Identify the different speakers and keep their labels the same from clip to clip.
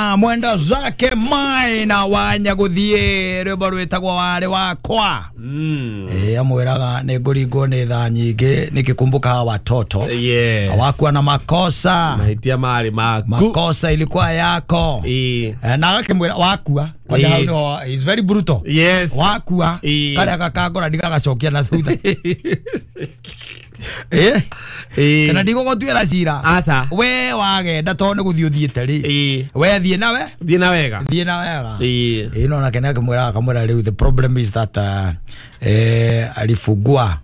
Speaker 1: Maina mwenda zake Maina wanya guthie rwimbo rwitagwo wari wakwa. Amwiraga ni nguringwo ni thaa nyingi nikikumbuka watoto.
Speaker 2: Yes.
Speaker 1: Hawakuwa na makosa.
Speaker 2: Mahitia mari maku.
Speaker 1: Makosa ilikuwa yako. Na akimwira wakua. Kwanja hau no is very brutal.
Speaker 2: Yes.
Speaker 1: Wakua karia gakangora ndigagacokia na thutha. Kana ndigũgũtuĩra cira.
Speaker 2: Aca.
Speaker 1: We wagenda tondũ nĩ gũthiĩ ũthiĩte rĩ. We thiĩ nawe.
Speaker 2: Thiĩ na wega.
Speaker 1: Thiĩ na wega. No nake nĩakĩmwĩra akamwĩra rĩu the problem is that alifungua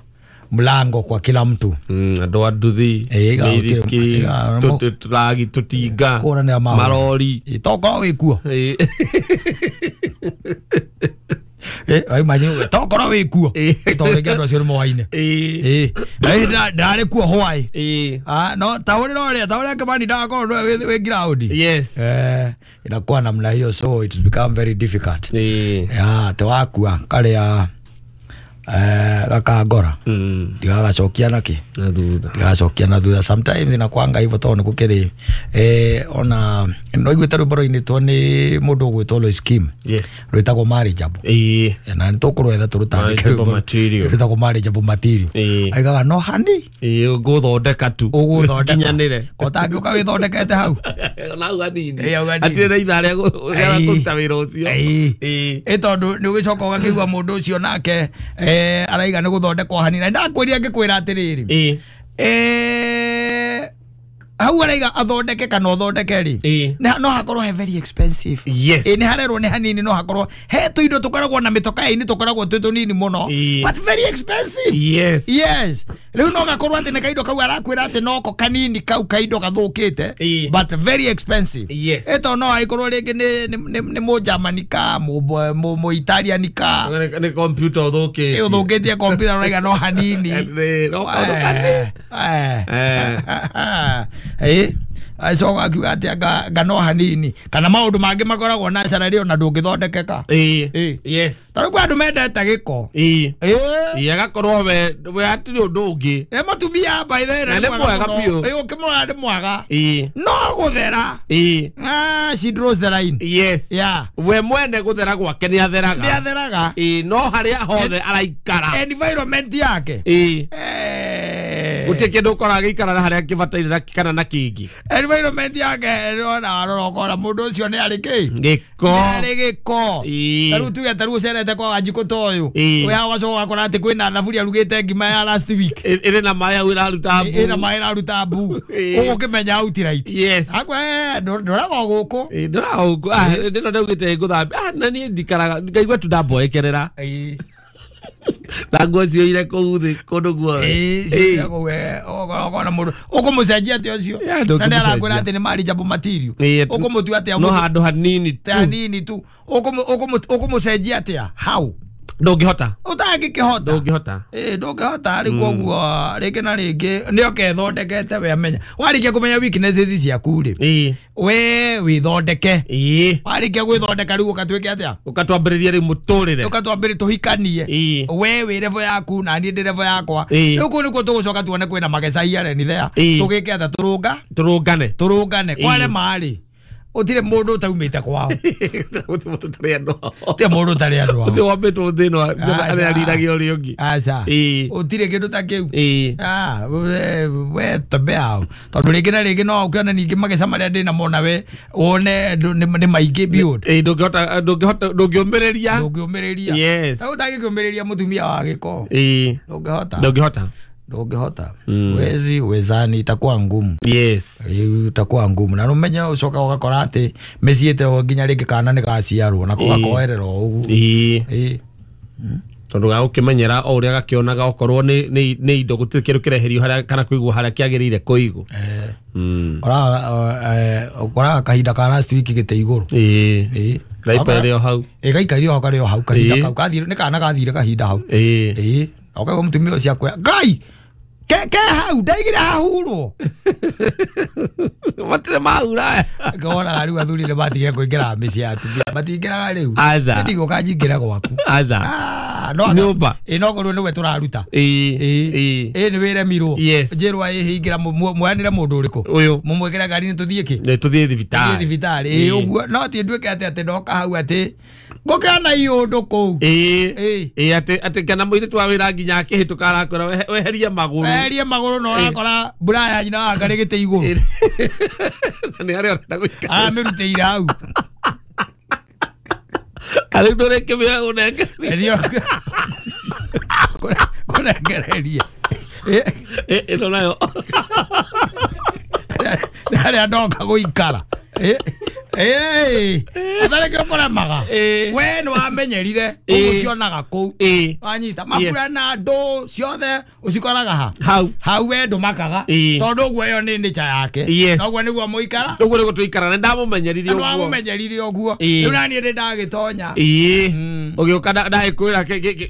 Speaker 1: mlango kwa kila mtu.
Speaker 2: Andũ a nduthi, mĩithikiri, tũragi, tũtinga, marori.
Speaker 1: Tokorwo wĩ kuo. Imagine tokorwo wĩ kuo. Tondũ rĩngĩ andũ acio nĩ moaine. Ndarĩ kuo hwaĩ. No ta ũrĩa ũrĩa ta ũrĩa Kimani ndagakorwo nĩwe wĩ ground.
Speaker 2: Yes.
Speaker 1: Inakuwa namna hiyo, so it become very difficult. Te wakua karĩa gakangora ndigagacokia naki
Speaker 2: na thutha,
Speaker 1: ndigagacokia na thutha. Sometimes inakwanga hivyo tondũ nĩgũkĩrĩ ona no iguĩte rwĩmbo rũinĩtwo nĩ mũndũ ũgwĩtwo Lois Kim.
Speaker 2: Yes.
Speaker 1: Rwĩtagwo Marriageable. Na nĩtũkũrwetha tũrũtandĩke rwĩmbo rwĩtagwo Marriageable Material. Aigaga no hani
Speaker 2: ũgũthondeka tu,
Speaker 1: ũgũthondeka
Speaker 2: kinyanĩre
Speaker 1: ko ũtangĩũka wĩthondekete hau
Speaker 2: na hau hanini hatirĩ na ithaa rĩa kũruta wĩra ũcio.
Speaker 1: Ĩ tondũ nĩ ũgĩcoka ũgakĩigua mũndũ ũcio nake araiga nĩ gũthondekwo hanini. Na ndakwĩria ngĩkwĩra atĩrĩrĩ, hau araiga athondeke kana ũthondeke rĩ, no hakorwo he very expensive.
Speaker 2: Yes.
Speaker 1: Nĩ harerwo nĩ hanini, no hakorwo he tũindo tũkoragwo na mĩtoka-inĩ tũkoragwo twĩ tũnini mũno, but very expensive.
Speaker 2: Yes.
Speaker 1: Yes. Rĩu no gakorwo atĩ nĩ kaindo kau arakwĩra atĩ noko kanini kau kaindo gathũkĩte, but very expensive.
Speaker 2: Yes.
Speaker 1: Ĩto no aikorwo rĩngĩ nĩ Mũgermany ka Mũitalian ka
Speaker 2: nĩ computer ũthũkĩtie.
Speaker 1: Ũthũkĩtie computer ũraiga no hanini.
Speaker 2: No kaũndũ kanini.
Speaker 1: Acoka akiuga atĩ anga no hanini kana maũndũ mangĩ makoragwo na cararĩ ona ndũngĩthondekeka.
Speaker 2: Yes.
Speaker 1: Tarĩu kwĩ andũ mendete gĩko.
Speaker 2: Agakorwo we hatirĩ ũndũ ũngĩ.
Speaker 1: Nĩ mũtumia by the way,
Speaker 2: na nĩ mwega biũ.
Speaker 1: Ũkĩmũrora nĩ mwega. No gũthera. She draws the line.
Speaker 2: Yes.
Speaker 1: Yeah.
Speaker 2: We mwene gũthera gwake nĩ atheraga.
Speaker 1: Nĩ atheraga.
Speaker 2: No harĩa hothe araikara.
Speaker 1: Environment yake.
Speaker 2: Gũtirĩ kĩndũ ũkoraga gĩikara na harĩa kĩbataire kana na kĩngĩ.
Speaker 1: Environment yake ona arora ũkora mũndũ ũcio nĩ arĩ kĩ?
Speaker 2: Gĩko.
Speaker 1: Nĩ arĩ gĩko. Tarĩu tuge tarĩu ũcerete kwa Wanjikũ ta ũyũ. Wĩ hau ũgacoka ũgakora atĩ kwĩna thaburia arugĩte ngima ya last week.
Speaker 2: Ĩrĩ na maĩ hau ĩraruta mbu.
Speaker 1: Ĩna maĩ ĩraruta mbu. Ũgũkĩmenya outright.
Speaker 2: Yes.
Speaker 1: Akwĩra ndũraga o gũkũ.
Speaker 2: Ndũraga o gũkũ. Ndĩno ndaugĩte ngũthambia. Na niĩ ndikaraga ngaigua tu ndamboekerera. Na nguo cioire kũu thĩ kũndũ guothe.
Speaker 1: Ũkona mũndũ ũkũmũcenjia atĩa ũcio? Na nĩ arakwĩra atĩ nĩ marriageable material. Ũkũmũtua atĩa?
Speaker 2: No handũ hanini tu.
Speaker 1: Hanini tu. Ũkũmũcenjia atĩa? How?
Speaker 2: Ndũngĩhota.
Speaker 1: Ũtangĩkĩhota.
Speaker 2: Ndũngĩhota.
Speaker 1: Ndũngĩhota rĩu koguo rĩngĩ na rĩngĩ nĩ okethondekete we amenya. Warĩkia kũmenya weaknesses ciaku rĩ, we wĩthondeke. Warĩkia gwĩthondeka rĩu ũgatuĩke atĩa?
Speaker 2: Ũgatwambĩrĩria rĩu mũtũrĩre.
Speaker 1: Ũgatwambĩrĩria tũhikanie. We wĩ level yaku na niĩ ndĩ level yakwa. Rĩu kũu nĩkuo tũgũcoka tuone kwĩna mageca here ni there. Tũgĩke atĩa? Tũrũnga?
Speaker 2: Tũrũngane.
Speaker 1: Tũrũngane. Kwarema rĩ, ũtirĩ mũndũ ũtaumĩte kwao.
Speaker 2: Gũtirĩ mũndũ ũtarĩ andũ ao.
Speaker 1: Gũtirĩ mũndũ ũtarĩ andũ ao.
Speaker 2: Ũcio wambĩtwo thĩ ĩno arĩariragia ũrĩa ũngĩ.
Speaker 1: Aca. Ũtirĩ kĩndũ ta kĩu. We tembea hau. Tondũ rĩngĩ na rĩngĩ no ũkĩone ningĩ mageca marĩa ndĩ namo nawe wone nĩ maingĩ biũ.
Speaker 2: Ndũngĩhota ndũngĩũmĩrĩria.
Speaker 1: Ndũngĩũmĩrĩria.
Speaker 2: Yes.
Speaker 1: Ũtangĩkĩũmĩrĩria mũtumia wa gĩko. Ndũngĩhota.
Speaker 2: Ndũngĩhota.
Speaker 1: Ndũngĩhota. Wezi wezani itakuwa ngumu.
Speaker 2: Yes.
Speaker 1: Itakuwa ngumu. Na numenye ucoka ũgakora atĩ mĩciĩ ĩte nginya rĩngĩ kana nĩ gaciarwo na gakoerera o ũguo.
Speaker 2: Tondũ gagũkĩmenyera o ũrĩa gakĩonaga okorwo nĩ indo gũtirĩ kĩndũ kĩreherio harĩa kana kũigwo harĩa kĩagĩrĩire kũigwo.
Speaker 1: Ũkoraga kahinda ka last week gĩte igũrũ.
Speaker 2: Gaikarire o hau.
Speaker 1: Gaikarire o hau karĩ o hau kahinda kau kathire nĩ kana gathire kahinda hau. Ũkaigua mũtumia ũcio akwĩra Ngai ke hau ndaigire hahurwo.
Speaker 2: Matirĩ mahura.
Speaker 1: Ngoraga rĩu athuri nĩ matigire kũingĩra mĩciĩ ya atumia matingĩraga rĩu.
Speaker 2: Aca.
Speaker 1: Ndigũka njingĩre gwaku.
Speaker 2: Aca.
Speaker 1: haha no
Speaker 2: Nyũmba.
Speaker 1: Ĩ no korwo nĩwe tũraruta.
Speaker 2: Ĩĩ.
Speaker 1: Ĩ.
Speaker 2: Ĩĩ.
Speaker 1: Ĩ nĩ wĩremirwo.
Speaker 2: Yes.
Speaker 1: Njĩrwo ĩ hingĩra mwanĩre mũndũ ũrĩkũ.
Speaker 2: Ũyũ.
Speaker 1: Mũmwĩkĩre ngari-inĩ tũthiĩ kĩ?
Speaker 2: Nĩ tũthiĩ thibitarĩ.
Speaker 1: Tũthiĩ thibitarĩ. Ĩ ũguo no ti nduĩke atĩ atĩ ndoka hau atĩ ngũkĩona iũndũ kũu.
Speaker 2: Ĩĩ.
Speaker 1: Ĩĩ.
Speaker 2: Ĩĩ atĩ kana mũirĩtu wa wĩra nginya akĩhĩtũka arakwĩra weherie magũrũ.
Speaker 1: Weherie magũrũ na ũrakora mbura ya nyina wa ngarĩ gĩtĩ igũrũ.
Speaker 2: Na nĩ harĩa ũrenda gũikara.
Speaker 1: Aramĩrutĩire hau.
Speaker 2: Rĩu ndũrĩkĩmĩoya ũnengererie.
Speaker 1: Kũnengereria.
Speaker 2: Ĩno nayo.
Speaker 1: Nĩ harĩa ndoka gũikara. Atharĩ kĩo kũremaga.
Speaker 2: Ĩ.
Speaker 1: We nĩ wamenyerire
Speaker 2: Ĩ.
Speaker 1: ũguo cionaga kũu.
Speaker 2: Ĩ.
Speaker 1: Wanyita mabura na ndũ ciothe ũcikoraga ha.
Speaker 2: Hau.
Speaker 1: Hau we ndũmakaga.
Speaker 2: Ĩ.
Speaker 1: Tondũ ũguo ĩyo nĩ nature yake.
Speaker 2: Yes.
Speaker 1: Noguo nĩguo mũikara.
Speaker 2: Ũguo nĩguo tũikara na ndamũmenyeririe
Speaker 1: Nĩ
Speaker 2: ũguo.
Speaker 1: wamũmenyerire ũguo.
Speaker 2: Ĩ.
Speaker 1: Rĩu naniĩ ndĩ ndagĩtonya.
Speaker 2: Ĩĩ. Ũgĩũka ndagĩkwĩra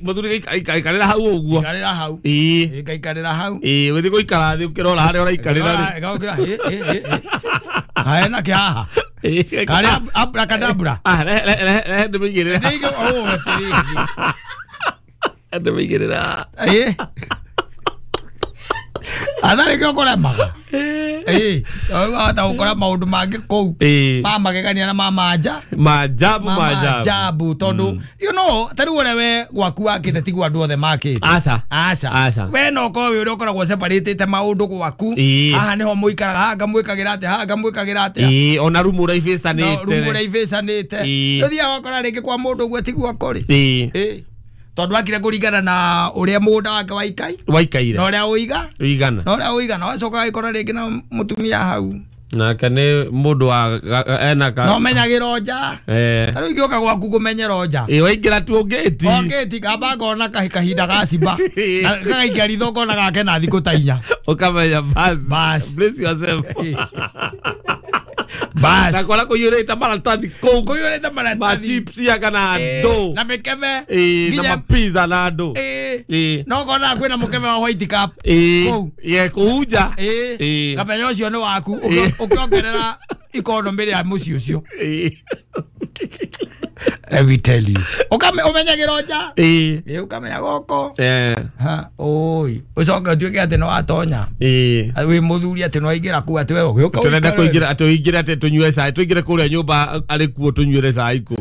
Speaker 2: mũthuri ikarĩra hau ũguo.
Speaker 1: Ikarĩra hau.
Speaker 2: Ĩĩ.
Speaker 1: Ĩ, ngaikarĩra hau.
Speaker 2: Ĩĩ ũgĩthiĩ gũikara thĩ ũkĩrora harĩa ũraikarĩra rĩ.
Speaker 1: Ĩgokĩra, ĩ, ĩ, ĩ, ĩ. Kaĩ na kĩhaha.
Speaker 2: Ĩĩ.
Speaker 1: Karĩ abrakadabra.
Speaker 2: Ah, rehe ndĩmĩigĩrĩre.
Speaker 1: Ndĩige ũũ atĩrĩrĩ.
Speaker 2: Ndĩmĩigĩrĩre.
Speaker 1: Ĩ. Atharĩ kĩo kũremaga. Ĩ. Wahota gũkora maũndũ mangĩ kũu.
Speaker 2: Ĩĩ.
Speaker 1: Ma magegania na ma manja.
Speaker 2: Maajabu
Speaker 1: Ma
Speaker 2: maajabu.
Speaker 1: maajabu tondũ you know ta rĩu ũrĩa we gwaku wakĩte tiguo andũ othe makĩte.
Speaker 2: Aca.
Speaker 1: Aca.
Speaker 2: Aca.
Speaker 1: We no ũkorwo wĩ ũrĩa ũkoragwo separatĩte maũndũ gwaku.
Speaker 2: Ĩĩ.
Speaker 1: Haha nĩho mũikaraga, haha ngamwĩkagĩra atĩa, haha ngamwĩkagĩra atĩa.
Speaker 2: Ĩĩ ona rumu ũrĩa
Speaker 1: No,
Speaker 2: ibĩcanĩte.
Speaker 1: rumu ũrĩa ibĩcanĩte.
Speaker 2: Ĩĩ.
Speaker 1: Ũthiaga ũgakora rĩngĩ kwa mũndũ ũguo tiguo kũrĩ.
Speaker 2: Ĩĩ.
Speaker 1: Ĩĩ. Tondũ akire kũringana na ũrĩa mũgũnda wake waikai
Speaker 2: Waikaire.
Speaker 1: na ũrĩa ũiga
Speaker 2: Ũigana.
Speaker 1: na ũrĩa ũigana wacoka agĩkora rĩngĩ na mũtumia hau
Speaker 2: Nake nĩ mũndũ wa ena ka.
Speaker 1: na ũmenyagĩra nja.
Speaker 2: Eh.
Speaker 1: Ta rĩu ingĩũka gwaku ngũmenyera nja.
Speaker 2: Ĩĩ waingĩra tu ngĩti.
Speaker 1: O ngĩti kamba ngona kahinda ga cimba. Na gagaikia ritho ngona gake na thikũ ta inya.
Speaker 2: Ũkamenya bas.
Speaker 1: Bas.
Speaker 2: Bless yourself.
Speaker 1: Bas.
Speaker 2: Na kora kũiyũrĩte maratathi kũu.
Speaker 1: Kũiyũrĩte
Speaker 2: Ma
Speaker 1: maratathi.
Speaker 2: chips ya kana
Speaker 1: Ĩĩ,
Speaker 2: andũ.
Speaker 1: na mĩkebe.
Speaker 2: Ĩĩ na
Speaker 1: Nginya-
Speaker 2: mapizza na andũ.
Speaker 1: Ĩĩ.
Speaker 2: Ĩĩ.
Speaker 1: No ngona kwĩna mũkebe wa white cup.
Speaker 2: Ĩĩ.
Speaker 1: Kũu.
Speaker 2: Ye kũu nja.
Speaker 1: Ĩĩ.
Speaker 2: Ĩĩ.
Speaker 1: Kamenya ũcio nĩ waku
Speaker 2: Ĩĩ.
Speaker 1: ũkĩongerera ikonomĩ rĩa mũciĩ ũcio.
Speaker 2: Ĩĩ.
Speaker 1: Let me tell you. Ũmenyagĩra nja.
Speaker 2: Ĩĩ.
Speaker 1: Ĩĩ ũkamenya gũkũ.
Speaker 2: Eh.
Speaker 1: Ha, oi. Ũcoke ũtuĩke atĩ nĩ watonya.
Speaker 2: Ĩĩ.
Speaker 1: Wĩ mũthuri atĩ nĩ waingĩra kũu atĩ we ũgĩũka
Speaker 2: Tũrenda
Speaker 1: ũikare.
Speaker 2: kũingĩra tũingĩre atĩ tũnyue cai tũingĩre kũrĩa nyũmba arĩ kuo tũnyuĩre cai kũu.